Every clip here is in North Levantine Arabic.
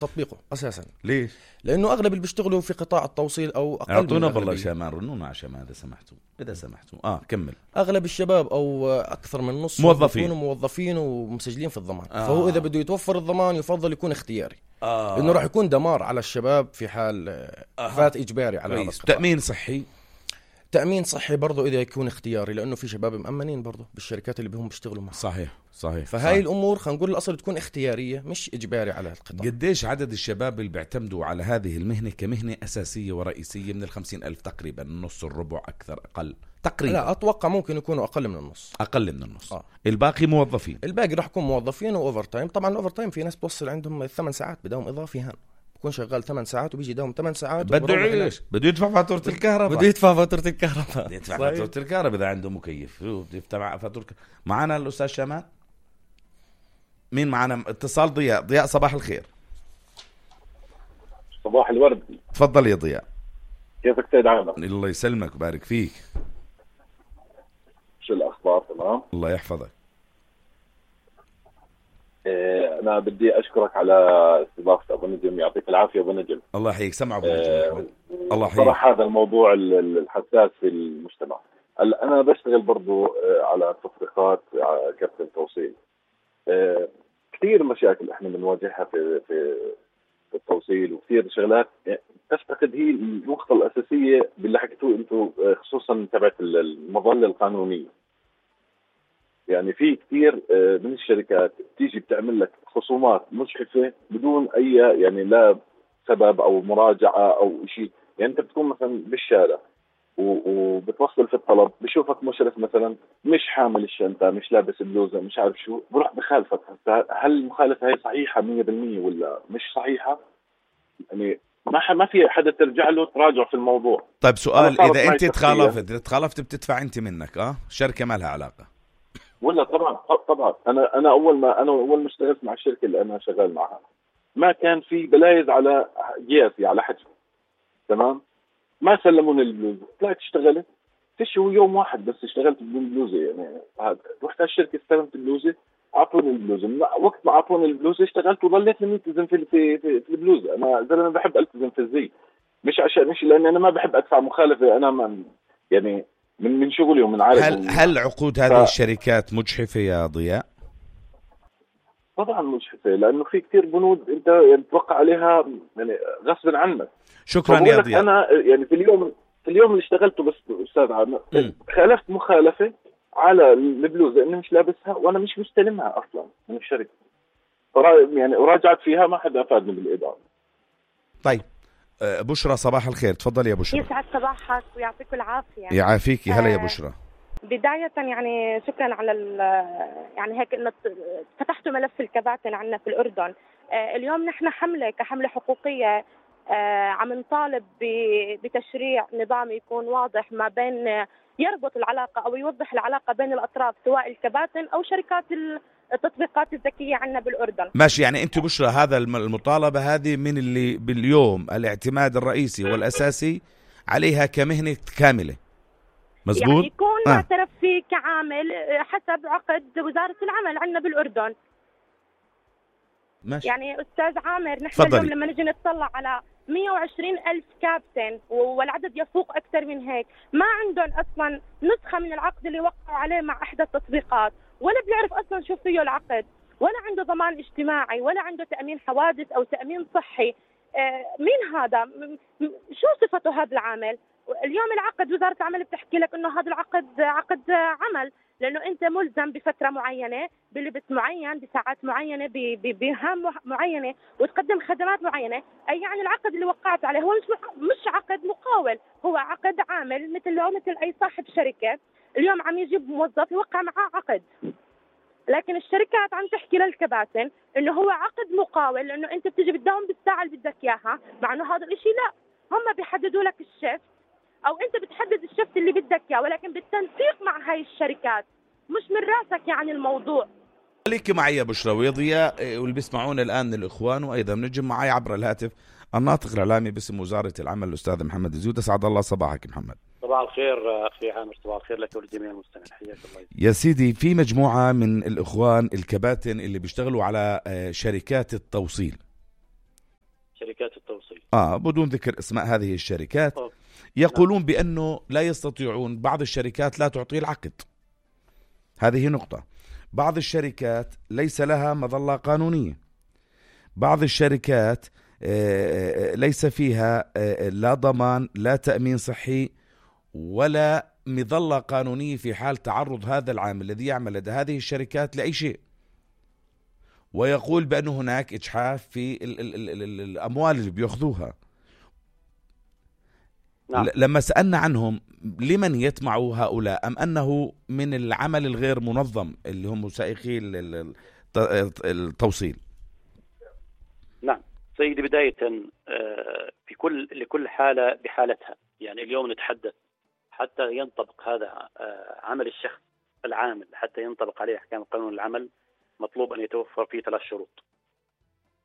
تطبيقه أساسا. ليش؟ لأنه أغلب اللي بيشتغلوا في قطاع التوصيل أو أقل اعطونا من بالله الأغلبية. شامان، رنونا على شامان إذا سمحتوا كمل. أغلب الشباب أو أكثر من نص موظفين. يكونوا موظفين ومسجلين في الضمان. فهو إذا بده يتوفر الضمان يفضل يكون اختياري، لأنه راح يكون دمار على الشباب في حال فات إجباري على هذا القطاع. تأمين صحي. تأمين صحي برضو إذا يكون اختياري، لأنه في شباب مأمنين برضو بالشركات اللي بهم بيشتغلوا معها. صحيح. فهاي الأمور خلينا نقول الأصل تكون اختيارية مش إجباري على القطاع. قديش عدد الشباب اللي بيعتمدوا على هذه المهنة كمهنة أساسية ورئيسية؟ من 50,000 تقريبا، النص، الربع، أكثر، أقل تقريبا؟ لا أتوقع ممكن يكونوا أقل من النص. أقل من النص. الباقي موظفين. الباقي راح يكون موظفين وأوفر تايم. طبعا الأوفر تايم في ناس بوصل عندهم 8 ساعات بدوم إضافي، هان بكون شغال 8 ساعات وبيجي دوم 8 ساعات. بده يعيش، بده يدفع فاتورة الكهرباء. بده يدفع فاتورة الكهرباء. بده يدفع فاتورة الكهرباء إذا عنده مكيف، بده يدفع فاتورة. معنا الأستاذ شامان. مين معنا؟ اتصال ضياء صباح الخير. صباح الورد. تفضل يا ضياء. كيفك سيد عامر؟ الله يسلمك وبارك فيك. شو الأخبار؟ تمام؟ الله يحفظك. أنا بدي أشكرك على استضافة أبو نجم، يعطيك العافية أبو نجم. الله يحييك. سمع أبو نجم. الله يحييك. صراحة هذا الموضوع الحساس في المجتمع. أنا بشتغل برضو على تطبيقات كابتن توصيل. كثير مشاكل إحنا بنواجهها في التوصيل، وكثير شغلات تفتقد هي النقطة الأساسية باللي حكيتوه أنتم، خصوصا تبعت المظلة القانونية. يعني في كثير من الشركات تيجي بتعمل لك خصومات مجحفة بدون أي يعني لا سبب أو مراجعة أو شيء. يعني أنت بتكون مثلا بالشارع وبتوصل في الطلب، بشوفك مشرف مثلا مش حامل الشنطة، مش لابس بلوزة، مش عارف شو، بروح بخالفك. هل المخالفة هي صحيحة 100% ولا مش صحيحة؟ يعني ما في حدا ترجع له تراجع في الموضوع. طيب سؤال، إذا أنت تخالفت بتدفع أنت منك شركة ما لها علاقة ولا؟ طبعا أنا أول ما اشتغلت مع الشركة اللي أنا شغال معها ما كان في بلايز على قياسي على حجم، تمام؟ ما سلموني البلوزة، طلعت اشتغلت تشو يوم واحد بس اشتغلت بدون بلوزة. يعني رحت على الشركة استلمت البلوزة، أعطوني البلوزة. وقت ما أعطوني البلوزة اشتغلت وظليت ملتزم في البلوزة. أنا زلمة بحب ألتزم في الزي، مش لأن أنا ما بحب أدفع مخالفة. أنا يعني من شغلي ومن عارف. هل عقود هذه الشركات مجحفة يا ضياء؟ طبعا مجحفة، لأنه في كتير بنود أنت يعني تتوقع عليها يعني غصب عنك. شكرا يا ضياء. أنا يعني في اليوم اللي اشتغلته بس أستاذ عامر خالفت مخالفة على البلوزة إني مش لابسها وأنا مش مستلمها أصلا من الشركة. يعني وراجعت فيها ما حدا أفادني بالإدارة. طيب بشرى صباح الخير. تفضل يا بشرى. يسعد صباحك ويعطيك العافية. يعافيكي. هلا يا بشرى. بداية يعني شكرا على يعني هيك انه فتحتوا ملف الكباتن عنا في الأردن. اليوم نحن كحملة حقوقية عم نطالب بتشريع نظام يكون واضح ما بين يربط العلاقة أو يوضح العلاقة بين الأطراف، سواء الكباتن أو شركات التطبيقات الذكية عنا بالأردن. ماشي. يعني أنت بشرى هذا المطالبة هذه من اللي باليوم الاعتماد الرئيسي والأساسي عليها كمهنة كاملة، مزبوط؟ يعني يكون معترف فيه كعامل حسب عقد وزارة العمل عنا بالأردن. ماشي. يعني أستاذ عامر نحن اليوم لما نجي نطلع على 120,000 كابتن والعدد يفوق أكثر من هيك، ما عندهم أصلا نسخة من العقد اللي وقعوا عليه مع إحدى التطبيقات، ولا بيعرف أصلا شو فيه العقد، ولا عنده ضمان اجتماعي، ولا عنده تأمين حوادث أو تأمين صحي. مين هذا؟ شو صفته هذا العامل؟ اليوم العقد وزارة العمل بتحكي لك إنه هذا العقد عقد عمل، لأنه أنت ملزم بفترة معينة، بلبس معين، بساعات معينة، بمهام معينة، وتقدم خدمات معينة. أي يعني العقد اللي وقعت عليه هو مش عقد مقاول، هو عقد عامل مثل أي صاحب شركة. اليوم عم يجيب موظف يوقع معاه عقد، لكن الشركات عم تحكي للكباتن إنه هو عقد مقاول، لأنه أنت بتيجي بتداوم بالساعة اللي بدك إياها، مع إنه هذا الإشي لا، هم بيحددوا لك الشيفت أو أنت بتحدد الشفت اللي بدك إياه، ولكن بالتنسيق مع هاي الشركات، مش من راسك يعني الموضوع. خليكي معي يا بشرى ويا ضياء واللي بيسمعونا الآن الإخوان، وأيضا نجم معي عبر الهاتف الناطق الإعلامي باسم وزارة العمل الأستاذ محمد الزيود. أسعد الله صباحك محمد. صباح الخير أخي عامر. صباح الخير لك ولجميع المستمعين. حياك الله يا سيدي. في مجموعة من الإخوان الكباتن اللي بيشتغلوا على شركات التوصيل شركات التوصيل بدون ذكر اسماء هذه الشركات. يقولون بأنه لا يستطيعون، بعض الشركات لا تعطي العقد. هذه نقطة. بعض الشركات ليس لها مظلة قانونية. بعض الشركات ليس فيها لا ضمان لا تأمين صحي ولا مظلة قانونية في حال تعرض هذا العامل الذي يعمل لدى هذه الشركات لأي شيء. ويقول بأن هناك إجحاف في الأموال اللي بيأخذوها. نعم. لما سألنا عنهم لمن يطمعوا هؤلاء، أم أنه من العمل الغير منظم اللي هم سائقي التوصيل؟ نعم سيدي، بداية في لكل حالة بحالتها. يعني اليوم نتحدث حتى ينطبق هذا عمل الشخص العامل، حتى ينطبق عليه أحكام قانون العمل، مطلوب أن يتوفر فيه 3 شروط.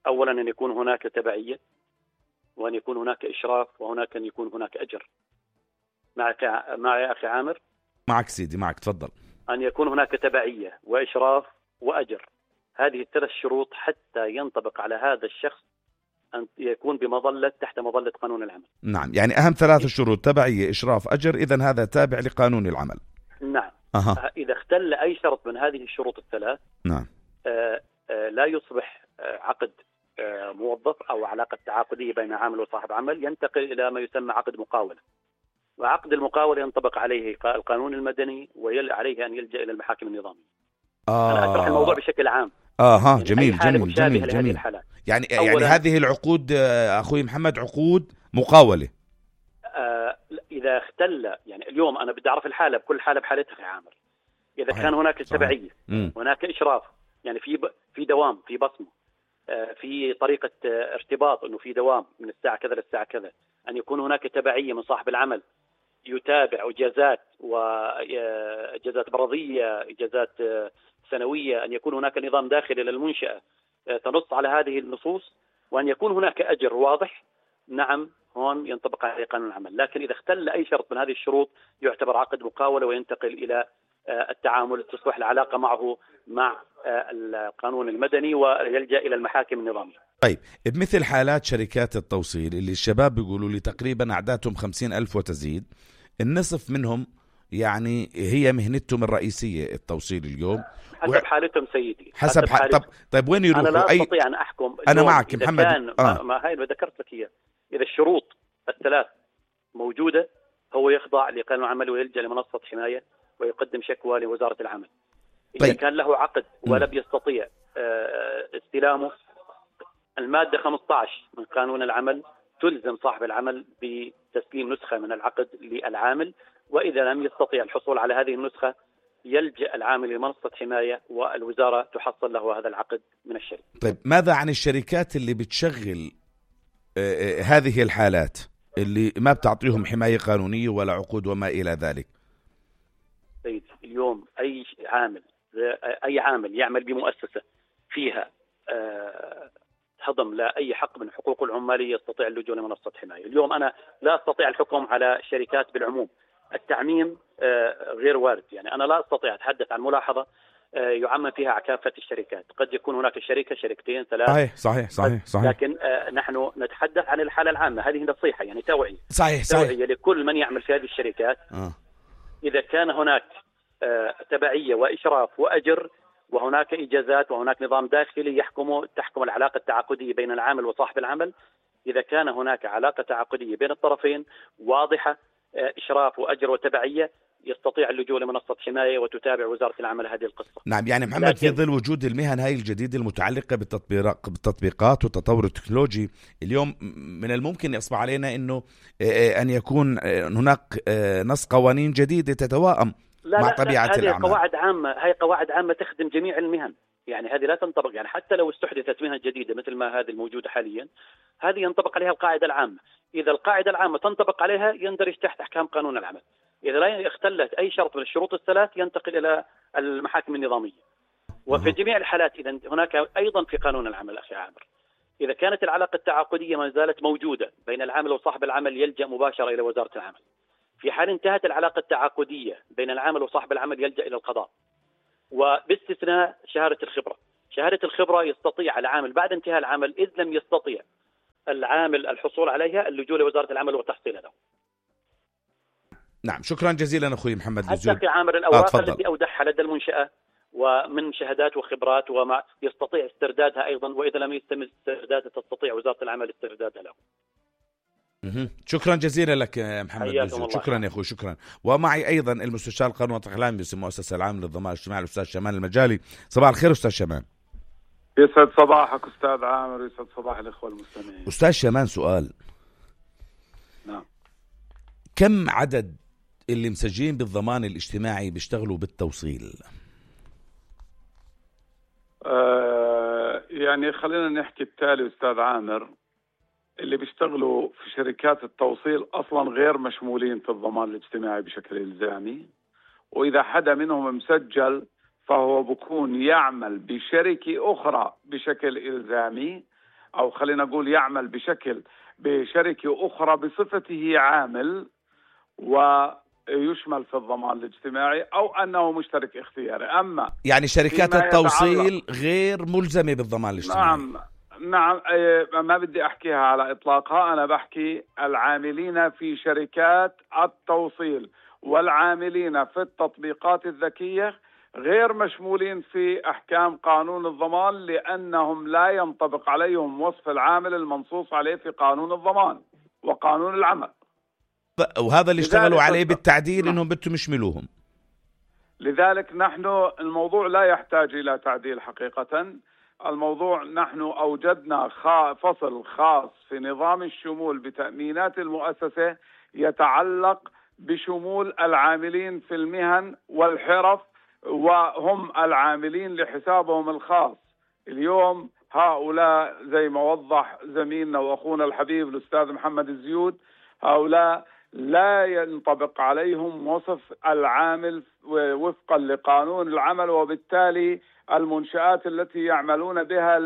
أولا أن يكون هناك تبعية، وأن يكون هناك إشراف، وهناك أن يكون هناك أجر. معي يا أخي عامر؟ معك سيدي، معك، تفضل. أن يكون هناك تبعية وإشراف وأجر، هذه ال3 شروط حتى ينطبق على هذا الشخص أن يكون تحت مظلة قانون العمل. نعم، يعني أهم 3 شروط: تبعية، إشراف، أجر. إذن هذا تابع لقانون العمل. نعم. إذا اختل أي شرط من هذه الشروط ال3، نعم، لا يصبح عقد موظف أو علاقة تعاقدية بين عامل وصاحب عمل، ينتقل إلى ما يسمى عقد مقاولة. وعقد المقاولة ينطبق عليه القانون المدني، وعليه أن يلجأ إلى المحاكم النظامية. أنا أشرح الموضوع بشكل عام. يعني جميل جميل جميل جميل. يعني هذه العقود أخوي محمد عقود مقاولة. إذا اختل، يعني اليوم أنا بدي أعرف الحالة، بكل حالة بحالتها يا عامر. إذا كان هناك تبعية، هناك إشراف، يعني في دوام، في بصمة، في طريقة ارتباط، أنه في دوام من الساعة كذا للساعة كذا، أن يكون هناك تبعية من صاحب العمل يتابع إجازات وإجازات مرضية، إجازات سنوية، أن يكون هناك نظام داخلي للمنشأة تنص على هذه النصوص، وأن يكون هناك أجر واضح. نعم، هون ينطبق عليه قانون العمل. لكن إذا اختل أي شرط من هذه الشروط يعتبر عقد مقاولة، وينتقل إلى التعامل، تصبح العلاقة معه مع القانون المدني، ويلجأ إلى المحاكم النظامية. طيب، بمثل حالات شركات التوصيل اللي الشباب بيقولوا لي تقريبا أعدادهم 50,000 وتزيد، النصف منهم يعني هي مهنتهم الرئيسية التوصيل اليوم، حسب حالتهم سيدي، حسب حالتهم. طيب وين يروحوا؟ أنا لا أستطيع أن أحكم. أنا معك محمد. ما هاي اللي ذكرت لك إياه. إذا الشروط ال3 موجودة، هو يخضع لقانون العمل ويلجأ لمنصة حماية ويقدم شكوى لوزارة العمل. إذا كان له عقد ولم يستطيع استلامه، المادة 15 من قانون العمل تلزم صاحب العمل بتسليم نسخة من العقد للعامل، وإذا لم يستطيع الحصول على هذه النسخة يلجأ العامل لمنصة حماية، والوزارة تحصل له هذا العقد من الشركة. طيب، ماذا عن الشركات اللي بتشغل هذه الحالات اللي ما بتعطيهم حماية قانونية ولا عقود وما إلى ذلك؟ سيدي، اليوم أي عامل يعمل بمؤسسة فيها هضم لا أي حق من حقوق العمالية يستطيع اللجوء لمنصة حماية. اليوم أنا لا أستطيع الحكم على الشركات بالعموم، التعميم غير وارد. يعني أنا لا أستطيع أتحدث عن ملاحظة يعمم فيها كافة الشركات. قد يكون هناك شركة، شركتين، 3. صحيح. لكن نحن نتحدث عن الحالة العامة. هذه نصيحة، يعني توعية. صحيح. توعية لكل من يعمل في هذه الشركات. إذا كان هناك تبعية وإشراف وأجر، وهناك إجازات، وهناك نظام داخلي تحكم العلاقة التعاقدية بين العامل وصاحب العمل، إذا كان هناك علاقة تعاقدية بين الطرفين واضحة، إشراف وأجر وتبعية، يستطيع اللجوء لمنصة حماية وتتابع وزارة العمل هذه القصة. نعم، يعني محمد، في ظل وجود المهن هاي الجديدة المتعلقة بالتطبيقات والتطور التكنولوجي، اليوم من الممكن يصبح علينا أنه أن يكون هناك نص قوانين جديدة تتوائم مع طبيعة الأعمال. هذه قواعد عامة تخدم جميع المهن. يعني هذه لا تنطبق، يعني حتى لو استحدثت مهن جديدة مثل ما هذه الموجودة حاليا، هذه ينطبق عليها القاعدة العامة. إذا القاعدة العامة تنطبق عليها يندرج تحت أحكام قانون العمل. إذا لا اختلت أي شرط من الشروط ال3 ينتقل إلى المحاكم النظامية. وفي جميع الحالات إذا هناك أيضا في قانون العمل أخي عامر، إذا كانت العلاقة التعاقدية ما زالت موجودة بين العامل وصاحب العمل يلجأ مباشرة إلى وزارة العمل. في حال انتهت العلاقة التعاقدية بين العامل وصاحب العمل يلجأ إلى القضاء، وباستثناء شهادة الخبرة. شهادة الخبرة يستطيع العامل بعد انتهاء العمل، إذ لم يستطيع العامل الحصول عليها اللجوء لوزارة العمل وتحصيلها له. نعم، شكرا جزيلا أخوي محمد الزود. حتى في عامل الأوراق التي أودعها لدى المنشأة ومن شهادات وخبرات وما يستطيع استردادها أيضا، وإذا لم يتم استردادها تستطيع وزارة العمل استردادها له. شكرا جزيلا لك محمد الزود. شكرا يا أخوي، شكرا. ومعي أيضا المستشار القانوني والإعلامي باسم المؤسسة العامة للضمان الاجتماعي الأستاذ شمال المجالي. صباح الخير أستاذ شمال. يسعد صباحك أستاذ عامر، يسعد صباح الإخوة المستمعين. أستاذ شمال، سؤال. نعم. كم عدد اللي مسجلين بالضمان الاجتماعي بيشتغلوا بالتوصيل؟ يعني خلينا نحكي التالي أستاذ عامر، اللي بيشتغلوا في شركات التوصيل أصلا غير مشمولين في الضمان الاجتماعي بشكل إلزامي، وإذا حدا منهم مسجل فهو بكون يعمل بشركة أخرى بشكل إلزامي، أو خلينا نقول يعمل بشركة أخرى بصفته عامل ويشمل في الضمان الاجتماعي، أو أنه مشترك اختياري. أما يعني شركات التوصيل غير ملزمة بالضمان الاجتماعي. نعم، ما بدي أحكيها على إطلاقها، أنا بحكي العاملين في شركات التوصيل والعاملين في التطبيقات الذكية غير مشمولين في أحكام قانون الضمان، لأنهم لا ينطبق عليهم وصف العامل المنصوص عليه في قانون الضمان وقانون العمل. وهذا اللي اشتغلوا عليه بالتعديل إنهم بدهم يشملوهم. لذلك نحن الموضوع لا يحتاج إلى تعديل حقيقة. الموضوع نحن أوجدنا فصل خاص في نظام الشمول بتأمينات المؤسسة يتعلق بشمول العاملين في المهن والحرف، وهم العاملين لحسابهم الخاص. اليوم هؤلاء زي ما وضح زميلنا وأخونا الحبيب الأستاذ محمد الزيود، هؤلاء لا ينطبق عليهم وصف العامل وفقا لقانون العمل، وبالتالي المنشآت التي يعملون بها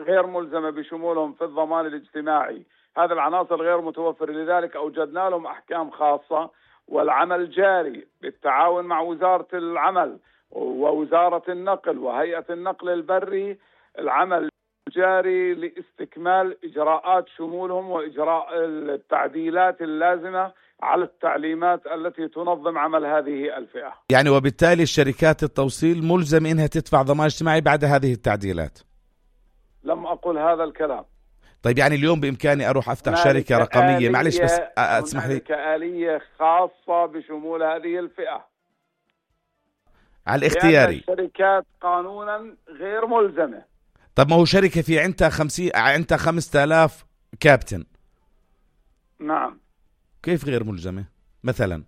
غير ملزمة بشمولهم في الضمان الاجتماعي. هذه العناصر غير متوفرة، لذلك أوجدنا لهم أحكام خاصة، والعمل جاري بالتعاون مع وزارة العمل ووزارة النقل وهيئة النقل البري. العمل جاري لاستكمال إجراءات شمولهم وإجراء التعديلات اللازمة على التعليمات التي تنظم عمل هذه الفئة. يعني وبالتالي الشركات التوصيل ملزم إنها تدفع ضمان اجتماعي بعد هذه التعديلات. لم أقل هذا الكلام. طيب يعني اليوم بإمكاني أروح أفتح شركة رقمية، معلش بس اسمح لي، كآلية خاصة بشمول هذه الفئة على الاختياري. الشركات قانونا غير ملزمة. طب ما هو شركة في عندها 5000 كابتن. نعم. كيف غير ملزمة مثلا؟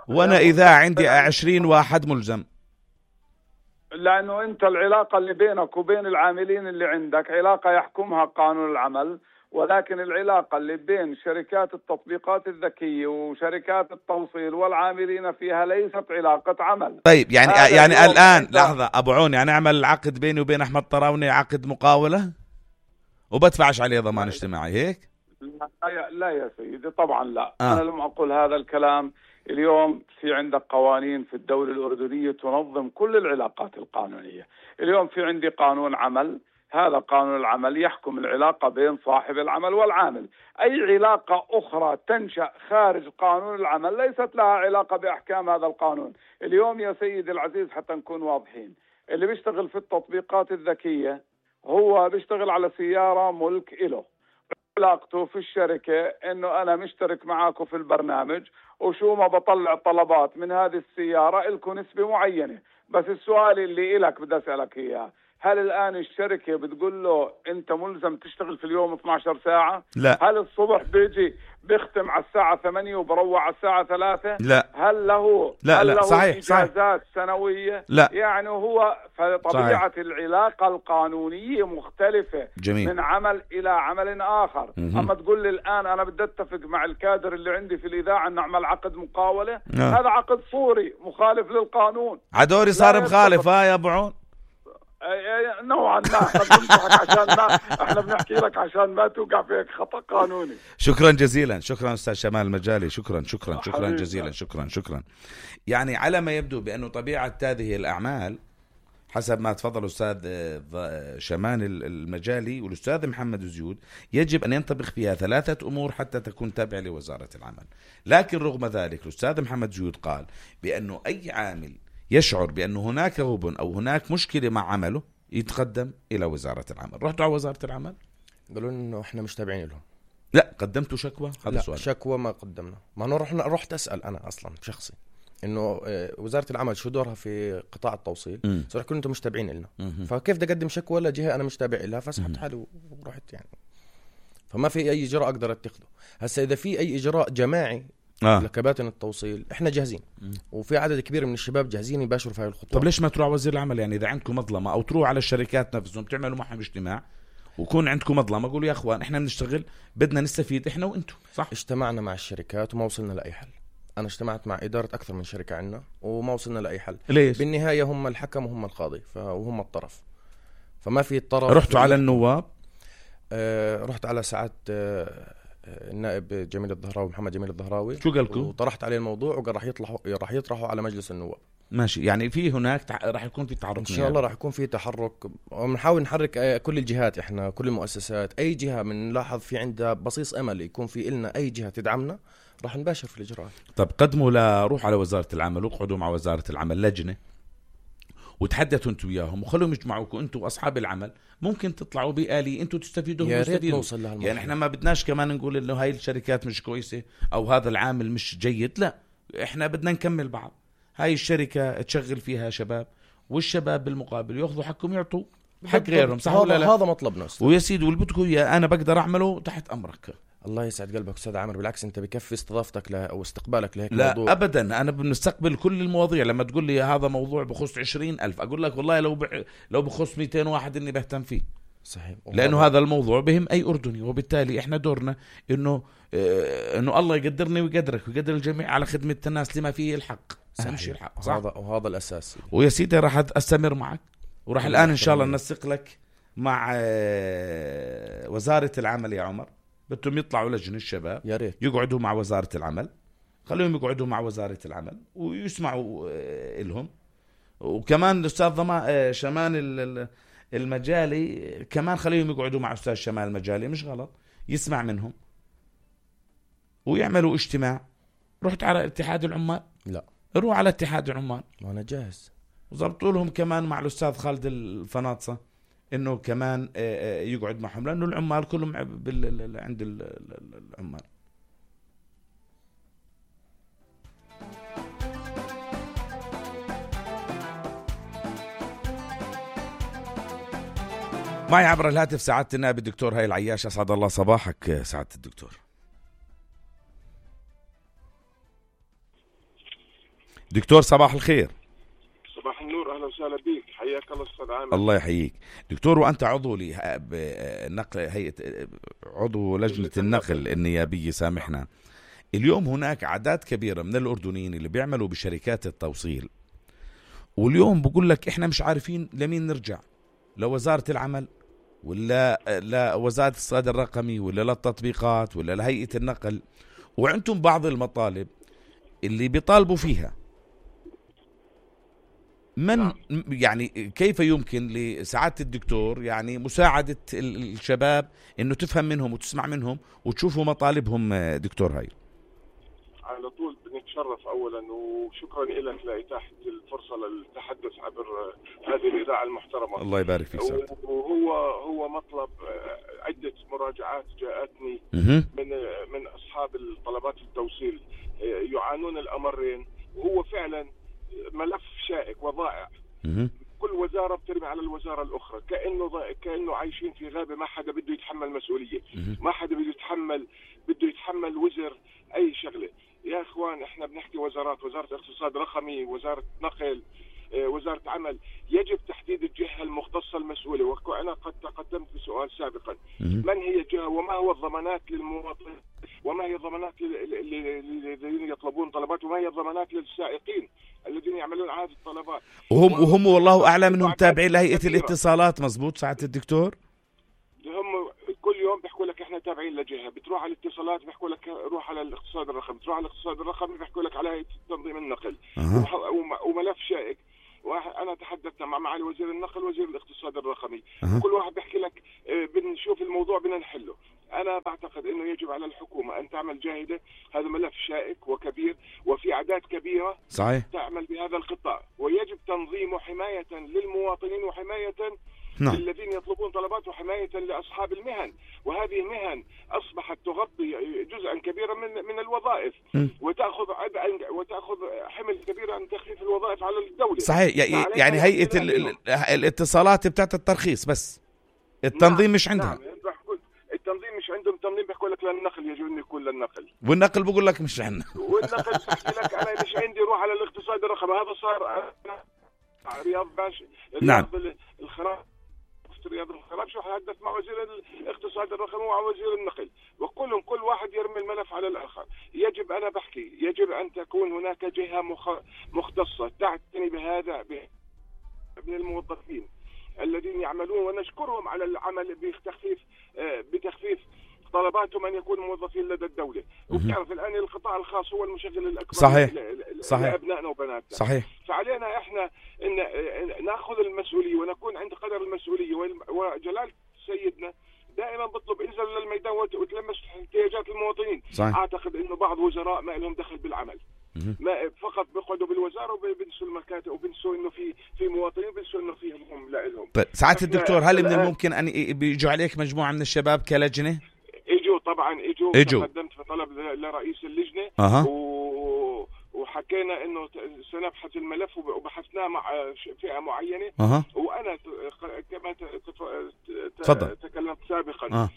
وانا اذا عندي 20 واحد ملزم. لانه انت العلاقة اللي بينك وبين العاملين اللي عندك علاقة يحكمها قانون العمل، ولكن العلاقة اللي بين شركات التطبيقات الذكية وشركات التوصيل والعاملين فيها ليست علاقة عمل. طيب يعني الآن لحظة أبو عون، يعني أعمل العقد بيني وبين أحمد طراوني عقد مقاولة وبدفعش عليه ضمان اجتماعي هيك؟ لا يا سيدي، طبعا لا. أنا لم أقول هذا الكلام. اليوم في عندك قوانين في الدولة الأردنية تنظم كل العلاقات القانونية. اليوم في عندي قانون عمل، هذا قانون العمل يحكم العلاقة بين صاحب العمل والعامل. أي علاقة أخرى تنشأ خارج قانون العمل ليست لها علاقة بأحكام هذا القانون. اليوم يا سيدي العزيز حتى نكون واضحين، اللي بيشتغل في التطبيقات الذكية هو بيشتغل على سيارة ملك إله، علاقته في الشركة إنه أنا مشترك معاكم في البرنامج، وشو ما بطلع طلبات من هذه السيارة إلكم نسبة معينة. بس السؤال اللي إلك بدي أسألك إياه، هل الآن الشركة بتقول له أنت ملزم تشتغل في اليوم 12 ساعة؟ لا. هل الصبح بيجي بيختم على الساعة 8 وبروح على الساعة 3؟ لا. هل له صحيح. إجازات سنوية؟ لا. يعني هو فطبيعة العلاقة القانونية مختلفة. جميل. من عمل إلى عمل آخر. أما تقول لي الآن أنا بدي أتفق مع الكادر اللي عندي في الإذاعة أن نعمل عقد مقاولة، هذا عقد صوري مخالف للقانون. عدوري صار مخالف يا أبو عون نوعا ما. احنا بنحكي لك عشان ما توقع فيك خطأ قانوني. شكرا جزيلا، شكرا أستاذ شمال المجالي، شكرا جزيلا. شكرا. يعني على ما يبدو بأنه طبيعة هذه الأعمال حسب ما تفضل الأستاذ شمان المجالي والأستاذ محمد زيود، يجب أن ينطبق فيها 3 أمور حتى تكون تابعة لوزارة العمل. لكن رغم ذلك الأستاذ محمد زيود قال بأنه أي عامل يشعر بأنه هناك غبن أو هناك مشكلة مع عمله يتقدم إلى وزارة العمل. رحتوا على وزارة العمل؟ قالوا إنه إحنا مش تابعين لهم. لا قدمتوا شكوى؟ هذا لا السؤال. شكوى ما قدمنا. ما أنا رحت أسأل أنا أصلا بشخصي إنه وزارة العمل شو دورها في قطاع التوصيل. صار كلهم أنتم مش تابعين لنا. فكيف بدي أقدم شكوى لجهة أنا مش تابع لها؟ فسحبت حالي ورحت يعني. فما في أي إجراء أقدر أتخذه. هسا إذا في أي إجراء جماعي لكباتن التوصيل إحنا جاهزين، وفي عدد كبير من الشباب جاهزين يباشروا في هاي الخطوة. طب ليش ما تروح وزير العمل؟ يعني إذا عندكم مظلمة أو تروح على الشركات نفسهم تعملوا معهم اجتماع ويكون عندكم مظلمة، قولوا يا أخوان إحنا بنشتغل بدنا نستفيد إحنا وإنتم. صح. اجتمعنا مع الشركات وما وصلنا لأي حل. أنا اجتمعت مع إدارة أكثر من شركة عنا وما وصلنا لأي حل. ليش؟ بالنهاية هم الحكم وهم القاضي وهم الطرف، فما في الطرف. رحتوا على النواب؟ رحت على ساعات النائب جميل الظهراوي، محمد جميل الظهراوي. شو قالكم؟ وطرحت عليه الموضوع وقال راح يطرحوا على مجلس النواب. ماشي. يعني في هناك راح يكون في تحرك إن شاء الله. راح يكون في تحرك ونحاول نحرك كل الجهات، إحنا كل المؤسسات، أي جهة بنلاحظ في عندها بصيص أمل يكون في إلنا أي جهة تدعمنا راح نباشر في الإجراءات. طب قدموا روح على وزارة العمل واقعدوا مع وزارة العمل لجنة وتحدثوا انتوا وياهم وخلوهم يجمعوكم انتوا واصحاب العمل، ممكن تطلعوا بآلية انتوا تستفيدوا. يا ريت نوصل لها. يعني احنا ما بدناش كمان نقول انه هاي الشركات مش كويسة او هذا العامل مش جيد، لا احنا بدنا نكمل بعض. هاي الشركة تشغل فيها شباب والشباب بالمقابل ياخذوا حقهم يعطوا حق غيرهم. صح ولا لا؟ هذا مطلبنا ويا سيدي واللي بدكم اياه انا بقدر اعمله تحت امرك. الله يسعد قلبك أستاذ عامر، بالعكس أنت بكفي استضافتك له أو استقبالك لهيك لا موضوع. أبدا أنا بنستقبل كل المواضيع. لما تقول لي هذا موضوع بخص 20,000 أقول لك والله لو بخص 200 واحد إني بهتم فيه. صحيح. لأنه هذا الموضوع بهم أي أردني، وبالتالي إحنا دورنا إنه الله يقدرني ويقدرك ويقدر الجميع على خدمة الناس لما فيه الحق. أهم شيء الحق. صح؟ وهذا الأساس. ويا سيدي راح أستمر معك وراح الآن إن شاء الله ننسق لك مع وزارة العمل يا عمر. بدهم يطلعوا لجنة الشباب يا ريت يقعدوا مع وزارة العمل، خليهم يقعدوا مع وزارة العمل ويسمعوا لهم. وكمان الأستاذ شمان المجالي كمان خليهم يقعدوا مع أستاذ شمال المجالي، مش غلط، يسمع منهم ويعملوا اجتماع. رحت على اتحاد العمال؟ لا. روح على اتحاد العمال وأنا جاهز. وضبطوا لهم كمان مع الأستاذ خالد الفناطسة إنه كمان يقعد معهم، لأنه العمال كلهم عند العمال. معي عبر الهاتف سعادة النائب الدكتور هاي العياش. أسعد الله صباحك سعادة الدكتور. دكتور صباح الخير. صباح النور، أهلا وسهلا بك، حياك الله أستاذ عامر. الله يحييك دكتور. وأنت عضو بنقل هيئة، عضو لجنة النقل النيابية. سامحنا، اليوم هناك أعداد كبيرة من الأردنيين اللي بيعملوا بشركات التوصيل، واليوم بقول لك إحنا مش عارفين لمين نرجع، لوزارة العمل ولا لوزارة الاقتصاد الرقمي ولا للتطبيقات ولا لهيئة النقل. وعندهم بعض المطالب اللي بيطالبوا فيها. يعني كيف يمكن لسعادة الدكتور يعني مساعدة الشباب انه تفهم منهم وتسمع منهم وتشوفوا مطالبهم دكتور هاي؟ على طول بنتشرف اولا وشكرا لك لاتاحة الفرصة للتحدث عبر هذه الاذاعة المحترمة. الله يبارك فيك سعادة. وهو مطلب عدة مراجعات جاءتني من اصحاب الطلبات التوصيل يعانون الامرين، وهو فعلا ملف شائك وضائع. كل وزارة بترمي على الوزارة الأخرى كأنه عايشين في غابة، ما حدا بده يتحمل مسؤولية، ما حدا بده يتحمل وزر أي شغلة. يا إخوان إحنا بنحكي وزارات، وزارة اقتصاد رقمي، وزارة نقل، وزارة عمل، يجب تحديد الجهة المختصة المسؤولة. وأنا قد تقدمت بسؤال سابقا، من هي الجهة وما هو الضمانات للمواطن وما هي الضمانات الذين يطلبون طلبات وما هي الضمانات للسائقين الذين يعملون هذه الطلبات. وهم والله أعلم أنهم تابعين لهيئة الاتصالات. مزبوط سعادة الدكتور؟ هم كل يوم بيحكوا لك احنا تابعين لجهة، بتروح على الاتصالات بيحكوا لك روح على الاقتصاد الرقمي، بتروح على الاقتصاد الرقمي بيحكوا لك على هيئة تنظيم النقل. وملف شائك. أنا تحدثت مع معالي وزير النقل وزير الاقتصاد الرقمي، كل واحد بيحكي لك بنشوف الموضوع بدنا نحله. أنا بعتقد أنه يجب على الحكومة أن تعمل جاهدة، هذا ملف شائك وكبير وفي أعداد كبيرة صحيح تعمل بهذا القطاع، ويجب تنظيمه حماية للمواطنين وحماية للذين يطلبون طلبات وحماية لأصحاب المهن. وهذه المهن أصبحت تغطي جزءا كبيرا من الوظائف وتأخذ حمل كبير عن تخفيف الوظائف على الدولة. صحيح. يعني هيئة الاتصالات بتاعت الترخيص بس التنظيم مش عندها. نعم. التنظيم مش عندهم. التنظيم بيقول لك للنقل يجب أن يكون للنقل، والنقل بيقول لك مش عندنا. والنقل بيحكي لك أنا مش عندي، روح على الاقتصاد الرقمي. هذا صار رياض باشا. نعم. الخراج رياض الخراج شو حدث مع وزير الاقتصاد الرقمي ومع وزير النقل، وكلهم كل واحد يرمي الملف على الآخر. يجب أنا بحكي يجب أن تكون هناك جهة مختصة تعتني بهذا من الموظفين الذين يعملون، ونشكرهم على العمل بتخفيف طلباتهم أن يكونوا موظفين لدى الدولة. وبتعرف الآن القطاع الخاص هو المشغل الأكبر صحيح. لأبنائنا وبناتنا. صحيح. فعلينا إحنا إن نأخذ المسؤولية ونكون عند قدر المسؤولية. وجلال سيدنا دائما بطلب انزل للميدان وتلمس احتياجات المواطنين. صحيح. أعتقد إنه بعض وزراء ما لهم دخل بالعمل، ما فقط بيقعدوا بالوزارة وبنسوا المكاتب وبنسوا إنه في مواطنين، بنسوا إنه فيهم هم لا لهم. ساعات الدكتور هل من الممكن أن بيجوا عليك مجموعة من الشباب كلجنة؟ اجوا قدمت في طلب لرئيس اللجنة وحكينا انه سنبحث الملف وبحثناه مع فئة معينة. وانا كما تكلمت سابقا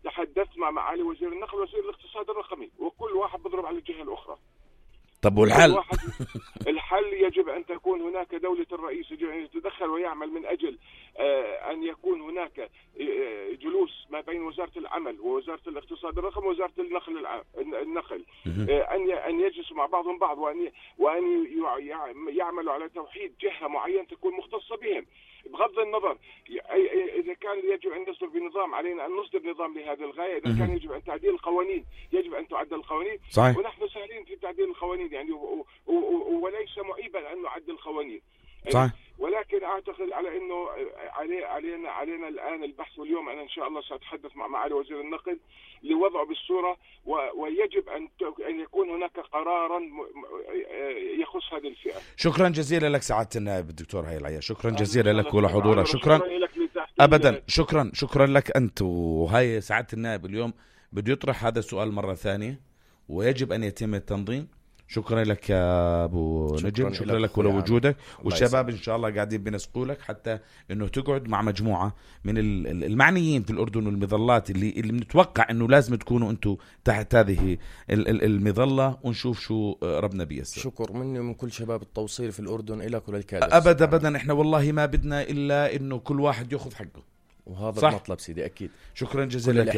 تحدثت مع معالي وزير النقل وزير الاقتصاد الرقمي، وكل واحد بضرب على الجهة الأخرى. طب والحل؟ الحل يجب أن تكون هناك دولة الرئيس يجب أن يتدخل ويعمل من أجل أن يكون هناك جلوس ما بين وزارة العمل ووزارة الاقتصاد الرقمي ووزارة النقل أن يجلسوا مع بعضهم بعض وأن يعملوا على توحيد جهة معينة تكون مختصة بهم. بغض النظر إذا كان يجب أن نصدر بنظام، علينا أن نصدر نظام لهذه الغاية. إذا كان يجب أن تعديل القوانين يجب أن تعدل القوانين. صحيح. ونحن سهلين في تعديل القوانين يعني وليس معيبا أن نعدل القوانين. صحيح. ولكن أعتقد على أنه علينا الآن البحث، واليوم أنا إن شاء الله سأتحدث مع معالي وزير النقل لوضعه بالصورة، ويجب أن يكون هناك قرارا يخص هذه الفئة. شكرا جزيلا لك سعادة النائب الدكتور هاي العيا، شكرا جزيلا لك ولحضورك. شكرا أبدا. شكرا لك أنت. وهاي سعادة النائب اليوم بده يطرح هذا السؤال مرة ثانية، ويجب أن يتم التنظيم. شكرا لك يا أبو نجم، شكرا لك ولوجودك. والشباب إن شاء الله قاعدين بنسقوا لك حتى إنه تقعد مع مجموعة من المعنيين في الأردن والمظلات اللي بنتوقع إنه لازم تكونوا أنتوا تحت هذه المظلة، ونشوف شو ربنا بيسر. شكر مني ومن كل شباب التوصيل في الأردن إلى كل الكادر. أبدا إحنا والله ما بدنا إلا إنه كل واحد يأخذ حقه، وهذا صح؟ المطلب سيدي أكيد. شكرا جزيلا لك.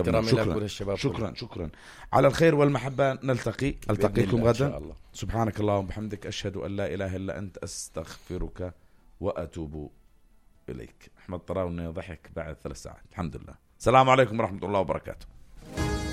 شكرا على الخير والمحبة. ألتقيكم غدا. سبحانك اللهم وبحمدك، أشهد أن لا إله إلا أنت، أستغفرك وأتوب إليك. أحمد طراوني ضحك بعد 3 ساعات الحمد لله. السلام عليكم ورحمة الله وبركاته.